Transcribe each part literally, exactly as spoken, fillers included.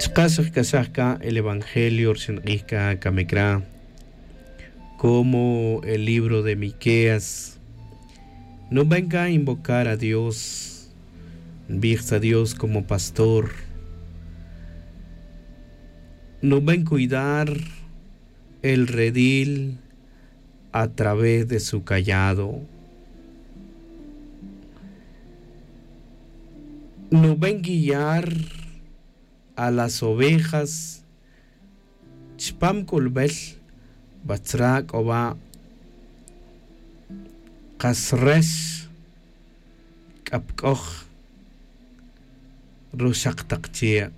Chka' xakc'axaj c'a el evangelio ri xink'ij c'a camic ra, como el libro de Miqueas. Nuben c'a invocar a Dios, nbij tzra Dios como pastor. Nuben cuidar el redil a través de su callado. Nuben guiar a las ovejas chpam c'ulbel. Batzra c'o ba kas rex c'a pc'oj ruxak tak che'.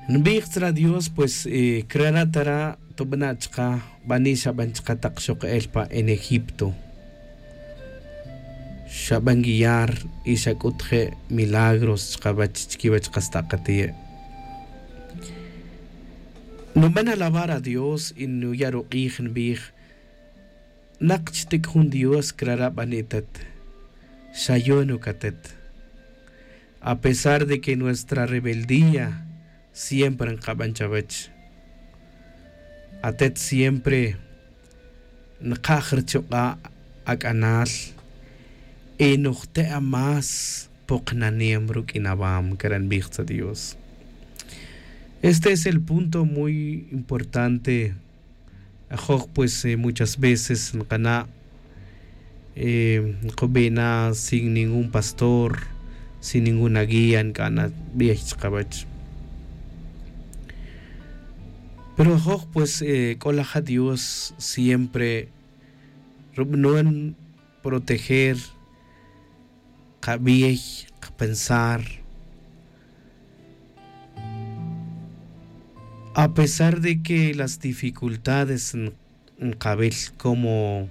Nbij tzra Dios, pues, eh, crara' tara' tubana' chka bani' xaben chka tak xok el pa en Egipto. Xaben guiar y xac'ut je' milagros chkawech chiquiwech kas takati'. Nuben alabar a Dios y nuya' ruk'ij nbij: Nak chtic jun Dios crara' bani' atet. Xayon uc atet. A pesar de que nuestra rebeldía siempre nkaben chawech, atet siempre nkaj ruchuk'a' ac'anal y nujte' a más poknanem ruq'uin awam, crara' nbij tzra Dios. Este es el punto muy importante. Ajoj, pues, eh, muchas veces nkana', eh, nkubi' na sin ningún pastor, sin ninguna guía ncana' bey chkawech. Pero ajoj, pues, eh, c'o laja Dios siempre rubanon proteger kabey, kapensar. A pesar de que las dificultades nkawil como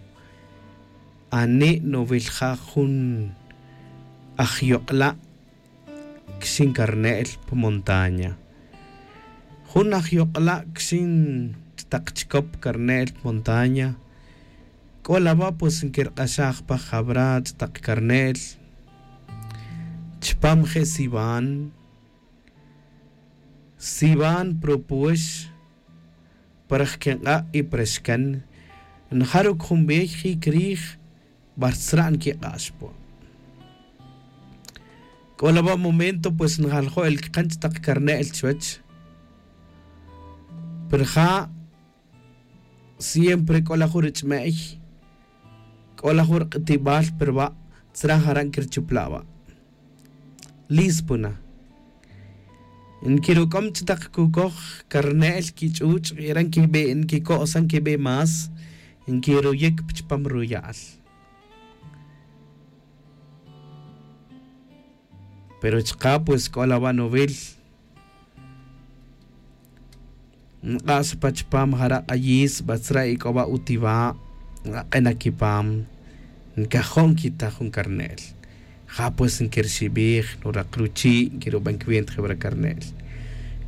ani' nuwil ja jun ajyok'la' quixin carne'l pa montaña. Jun ajyok'la' quixin ch'utak chicop carne'l pa montaña. C'o la wa' pues nquirk'axaj pa jawra ch'utak carne'l chupam je' siwan. Siwan propuex para jquink'a' y para xcan. Njaruc jun bey jic rij bar tzra' nquik'ax pa. C'o la wa' momento pues njaljo' el ckan ch'utak carne'l chuwech. Pero ja siempre c'o la jun ruch'me'y, c'o la jun rk'utibal pero wa' tzra' jara' nquirchupla' wa'. Lispo na. Nquiruc'om ch'utak cucoj carne'l quich'uch' y ara' nquico'san quibi' más. Nquiruyic pa chupam ruya'al. Pero chka pues c'o la wa' nuwil. Nk'ax pa chupam jara' k'ayis batzra' y c'o wa' utiwa'. Nk'ak'en na quipam. Ncajo' nquitaj jun carne'l. Ja pues nquirxibij nurak ruchi' nquiruben cuenta je wara carne'l.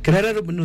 Crara' rubanon